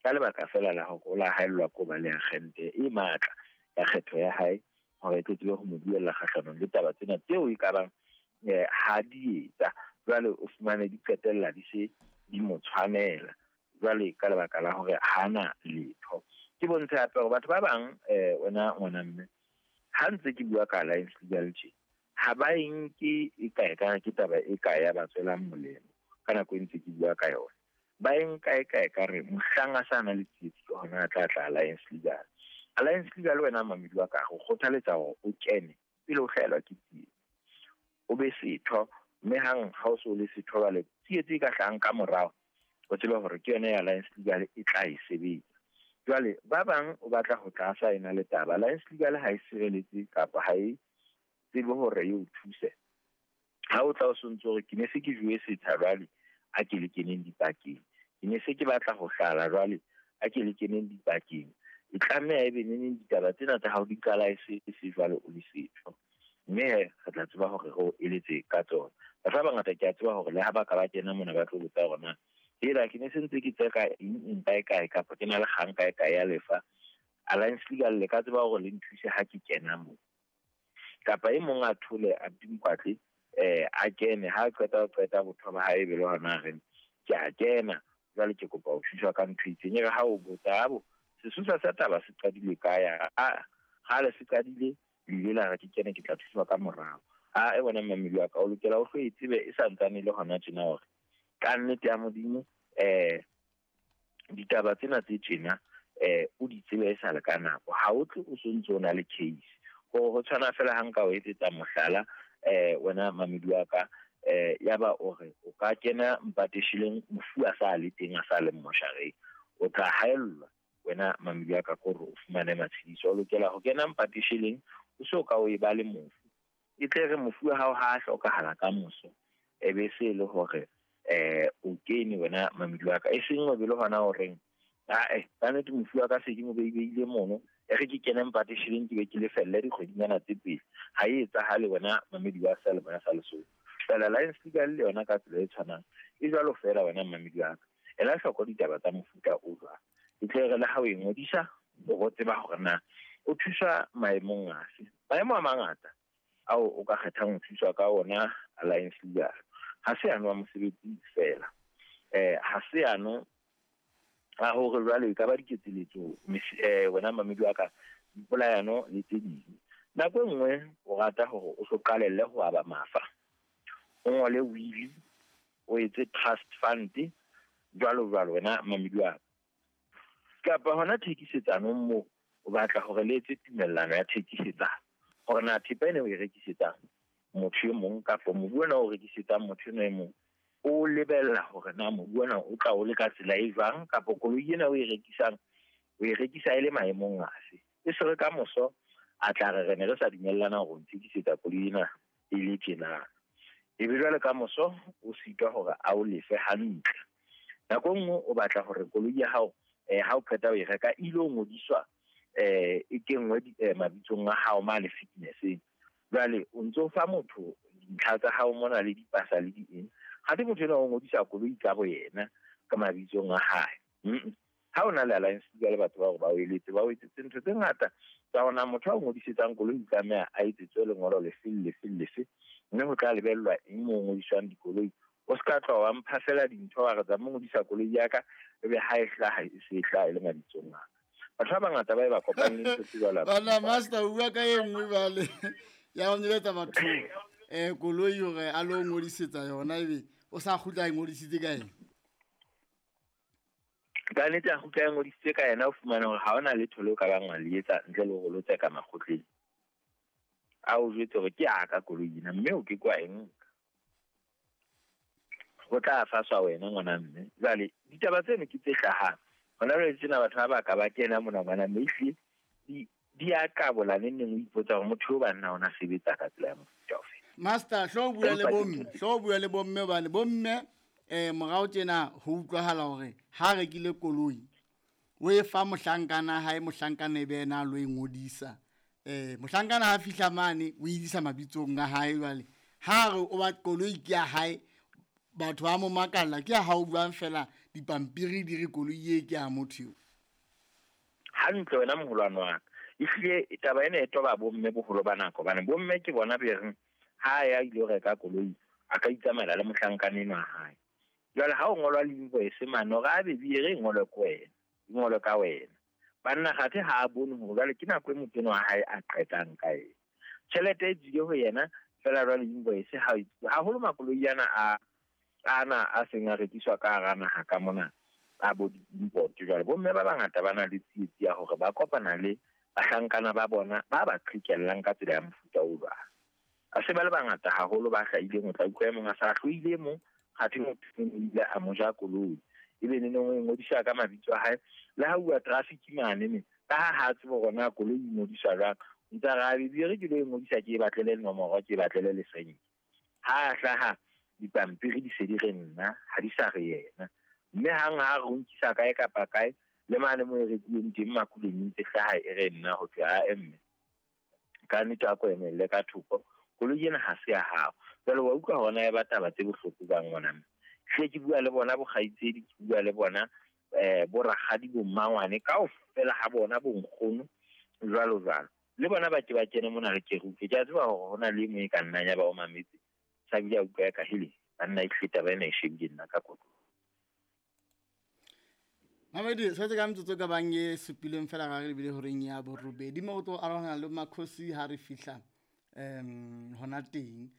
Ka lebaka fela la hore o la haellwa ko ba le agente e matla ya kgetho ya hae hore e tlo tsebe ho mo buella kgahlanong le taba tsena tseo e ka bang ha di etsa. Jwale o fumane di qetella di se di mo tshwanela jwale ka lebaka la hore hana letho. Ke bontshe hape hore batho ba bang wena ngwana mme, ha ntse ke bua ka Alliance Legal tje, ha ba e nke e kae ka ke taba e kae ya ba tswelang molemo ka nako e ntse ke bua ka yona. Ba e nka e kae ka re mohlang a sa na le tsietsi ke hona a tla tla Alliance Legal. Alliance Legal wena mamedi wa ka, go kgothaletsa hore o kene pele o hlahelwa ke tsietsi. O be setho, mme hang ha o so le setho jwale tsietsi e ka hlahang ka morao, o tsebe hore ke yona ya Alliance Legal e tla e sebetsa. Jwale ba bang o batla ho tla sa ena le taba. Alliance Legal ha e sireletse kapa ha e tsebe hore e o thuse. Ha o tla o sontso hore ke ne se ke jowe setsha jwale a ke le keneng dipakeng, ke ne se ke batla ho hlala jwale a ke le keneng dipakeng, e tlameha ebe neneng ditaba tsena tsa hao di qala e se jwale o le setho, mme he re tla tseba hore re o eletse ka tsona. Batho ba bangata ke a tseba hore le ha ba ka ba kena mona ba tlo botsa hore na hela ke ne se ntse ke tseka eng eng kae kae kapa ke na le kgang kae kae ya lefa. Alliance Legal le ka tseba hore le nthuse ha ke kena moo. Kapa e mong a thole a Mkwatle a kene, ha qeta ho qeta botho ba hae be le hona re ke a kena jwale ke kopa ho thuswa ka ntho e itseng. E re ha o botsa abo sesosa sa taba se qadile kae, a ha le se qadile le ile la re ke kene ke tla thuswa ka morao. A e bona mmamedi wa ka, o lokela o hlo e tsebe e sa ntsane le hona tjena hore ka nnete ya Modimo ditaba tsena tse tjena o di tsebe e sa le ka nako. Ha o tle o sontso o na le case. Ho tshwana fela ha nka o etsetsa mohlala wena mamedi wa ka, ya ba o re o ka kena mpateshileng mofu a sa le teng a sa le moshareng, o tla haellwa wena mamedi wa ka kore o fumane matshediso. O lokela ho kena mpateshileng o so ka o e ba le mofu, e tle re mofu wa hao ha a hlokahala ka moso e be se le hore o kene wena mamedi wa ka, e seng o be le hona horeng ka nnete mofu wa ka se ke mo beile mono, e re ke kene mpateshileng ke be ke lefelle dikgwedinyana tse pedi. Ha e etsahale wena mamedi wa sa le bona sa Lesotho. Fela Alliance Legal le yona ka tsela e tshwanang e jwalo fela wena mamedi wa ka. Ela hloko ditaba tsa mofuta o jwang, e tle re le ha o e ngodisa o bo tseba hore na o thuswa maemong afe. Maemo a mangata ao o ka kgethang ho thuswa ka ona Alliance Legal ha se ano a mosebetsi fela, ha se ano a hore jwale e ka ba diketseletso wena mamedi wa ka, dipolayano le tse ding. Nako e nngwe o rata hore o so qalelle ho aba mafa, o ngole will, o etse trust fund jwalo jwalo wena mamedi wa ka. Kapa hona thekisetsano moo o batla hore le etse tumellano ya thekisetsano hore na thepa ena o e rekisetsang motho e mong kapa mobu ona o rekisetsang motho eno e mong, o lebella hore na mobu ona o tla o le ka tsela e jwang, kapa koloi ena o e rekisang o e rekisa e le maemong afe. E se re ka moso a tla re re ne re sa dumellana hore o nthekisetsa koloi ena e le tjena, e be jwale ka moso o sitwa hore a o lefe hantle. Nako e nngwe o batla hore koloi ya hao ha o qeta ho e reka e ilo ngodiswa e kenngwe mabitsong a hao mane fitness-eng. Jwale o ntso fa motho dintlha tsa hao mona le dipasa le di eng, ha te motho enwa o ngodisa koloi ka bo yena ka mabitsong a hae. Ha o na le Alliance Legal batho ba hore ba o eletse, ba o etsetse ntho tse ngata tsa hore motho a o ngodisetsang koloi o tlameha a etsetswe lengolo lefe le lefe le lefe, mme ho tla lebellwa eng moo ngodiswang dikoloi. O ska tloha wa mpha fela dintho wa re tsamaya ngodisa koloi ya ka, ebe ha e hlaha e se e hlaha e le mabitsong a ka. Batho ba bangata ba e ba kopane le ntho tse jwalo. Bana master o bua ka e nngwe jwale ya ho nyeletsa batho koloi hore a lo ngodisetsa yona, ebe o sa kgutla a ngodisitse ka ena. Ka nnete a kgutla a ngodisitse ka yena, o fumane hore ha hona letho leo ka bang wa le etsa ntle le hore lo tseka makgotleng. A o jwetse hore ke a ka koloi ena, mme o ke kwa e nka. Ho tla faswa wena ngwana mme. Jwale ditaba tseno ke tse hlahang hona jwale tsena, batho ba ba ka ba kena mona ngwana mme, ehlile di a qabola neng neng o ipotsa hore motho eo banna ona sebetsa ka tsela ya mofuta ofe. Master, hlo bua le bomme, hlo bua le bomme hobane bomme morao tjena ho utlwahala hore ha rekile koloi o e fa mohlankana hae, mohlankana e be yena a lo e ngodisa. Mohlankana ha fihla mane o e isa mabitsong a hae. Jwale ha re o ba koloi ke ya hae, batho ba mo makalla ke ya hao buang fela Dipampiri di re koloi e ke ya motho eo. Hantle wena moholwane wa ka. Ehlile taba ena e toba bomme boholo ba nako, hobane bomme ke bona be reng ha ya ile reka koloi a ka itsamaela le mohlankana enwa wa hae. Jwale ha o ngolwa le invoice mane hore a be re ngolwe ke wena, e ngolwe ka wena. Banna kgathe ha a bone hore jwale ke nako e motho enwa wa hae a qetang ka ena. Tjhelete e tswile ho yena fela jwale invoice ha haholo makoloi ana a ana a seng a rekiswa ka hara naha ka mona a bo di-import. Jwale bomme ba bangata ba na le tsietsi ya hore ba kopana le bahlankana ba bona ba ba qhekellang ka tsela ya mofuta o jwalo. A se ba le bangata haholo ba hlahileng, o tla utlwa e mong a sa hloile mong, kgathe motho o ile a mo ja koloi. Ebe neneng o e ngodisa ka mabitso a hae. Le ha bua traffic mane me, ka ha ha tsebe hore na koloi e ngodiswa jwang, ntse a re, a be re ke lo e ngodisa ke e batlele nomoro, ke e batlele lesenke. Ha hlaha dipampiri di se di re nna, ha di sa re yena. Mme hang ha re o nkisa kae kapa kae, le mane mo e rekileng teng makuleng ntse hlaha e re nna ho thwe a emme. Ka nnete a ko emelle ka thoko, koloi ena ha se ya hao. Jwale wa utlwa hona e ba taba tse bohloko jwang ngwana mme. Hle ke bua le bona bokgaitsedi, ke bua le bona bo rakgadi, bo mmangwane kaofela ha bona, bo nkgono jwalo jwalo. Le bona ba ke ba kene mona re ke re utlwe. Ke a tseba hore hona le e mong e ka nnang ya ba o mametse, sa bile a utlwa ya ka hele, banna e hlile taba ena e shebile nna ka kotlo. Mamedi, setse ka metsotso ka bang e supileng fela ga re lebile horeng ya borobedi mo go tlo arogana le Makhosi ha re fihla hona teng.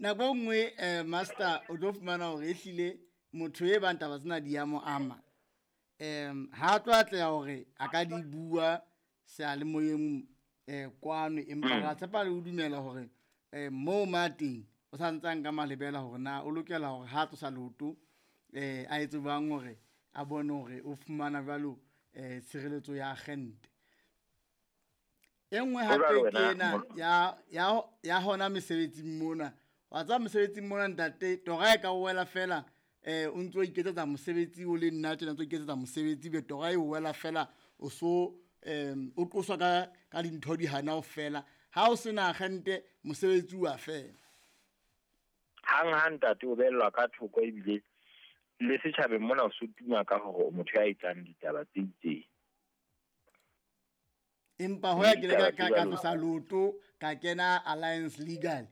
Nako e nngwe master o tlo fumana hore ehlile motho e bang taba tsena di ya mo ama. Ha tlo atleha hore a ka di bua seyalemoyeng kwano, empa ra tshepa le ho dumela hore moo ma teng o sa ntse a nka malebela hore na o lokela hore ha tlosa leoto a etse jwang hore a bone hore o fumana jwalo tshireletso ya agente. E nngwe hape ke ena ya hona mesebetsing mona. Wa tseba mosebetsing mona ntate, tora e ka o wela fela o ntso o iketsetsa mosebetsi o le nna tjena, ntso o iketsetsa mosebetsi be tora e o wela fela o so o qoswa ka dintho di hana ho fela. Ha o sena agente mosebetsi wa fela. Hang ha ntate o bellwa ka thoko ebile le setjhabeng mona o so tuma ka hore o motho ya etsang ditaba tse itseng. Empa ho ya ke le ka tlosa leoto ka kena Alliance Legal.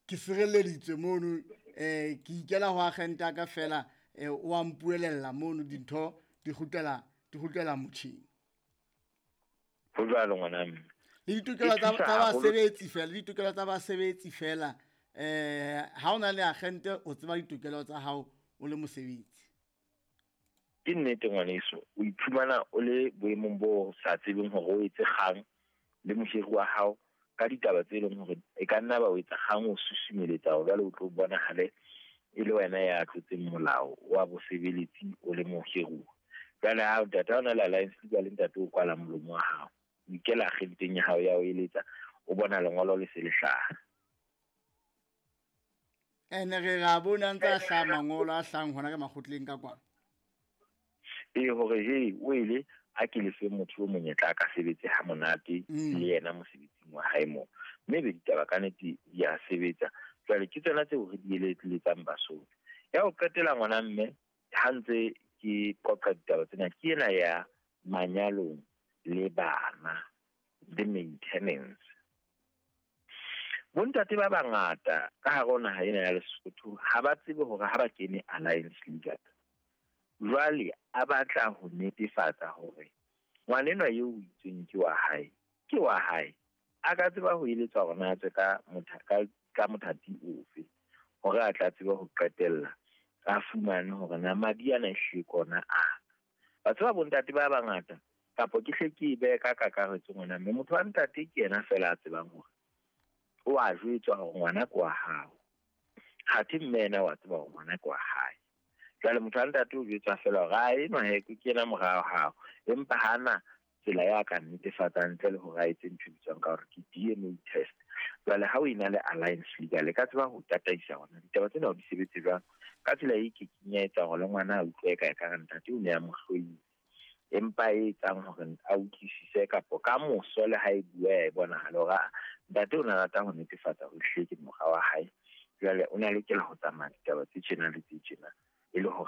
Ke sireleditswe mono, ke ikela ho agente ya ka fela, o a mpuelella mono dintho di kgutlela motjheng. Ho jwalo ngwana mme. Le ditokelo tsa basebetsi fela, le ditokelo tsa basebetsi fela. Ha o na le agente o tseba ditokelo tsa hao o le mosebetsi. Ke nnete ngwaneso, o iphumana o le boemong bo sa tsebeng hore o etse kgang le mohiri wa hao ka ditaba tse leng hore e ka nna ba o etsa kgang o susumeletsa hore jwale o tlo bonahale e le wena ya tlotseng molao wa bosebeletsi o le mohiruwa. Jwale ha ntate ha o na le Alliance Legal, ntate o kwala molomo wa hao, o ikela agenteng ya hao ya o eletsa, o bona lengolo le se le hlaha. Ene re ra bona ntse a hlaha mangolo a hlahang hona ka makgotleng ka kwana. E hore he o ile a ke lefe motho o monyetla a ka sebetse ha monate le yena mosebetsing wa hae moo. Mme be ditaba ka nnete di a sebetsa. Jwale ke tsona tseo re di eletsang Basotho. Ya ho qetela ngwana mme, ha ntse ke qoqa ditaba tsena, ke ena ya manyalong le bana le maintenance. Bontate ba bangata ka hare ho naha ena ya Lesotho ha ba tsebe hore ha ba kene Alliance Legal. Jwale a batla ho netefatsa hore ngwanenwa eo o itsweng ke wa hae, ke wa hae. A ka tseba ho eletsa hore na a tswe ka mothati ofe hore a tla tsebe ho qetella a fumane hore na madi ana ehlile ke ona a. Ba tseba bontate ba bangata kapo ke hle ke e behe ka kakaretso ngwana mme motho wa ntate ke yena fela a tsebang hore o a jwetswa hore ngwana ke wa hao. Kgathe mme yena wa tseba hore ngwana ke wa hae. Jwale motho wa ntate o jwetswa fela hore a enwa he ke yena mora wa hao, empa hana tsela ya ka netefatsang ntle le hore a etse ntho e bitswang ka hore ke DNA test. Jwale ha o ena le Alliance Legal e ka tseba ho tataisa hona ditaba tsena o di sebetse jwang ka tsela e ke keng ya etsa hore le ngwana a utlwe ka ekare ntate o ne a mo hloile, empa e etsang hore a utlwisise kapo ka moso le ha e bua ya e bonahala hore ntate o ne a rata ho netefatsa hore ehlile ke mora wa hae, Jwale o ne a lokela ho tsamaya ditaba tse tjena le tse tjena e le hore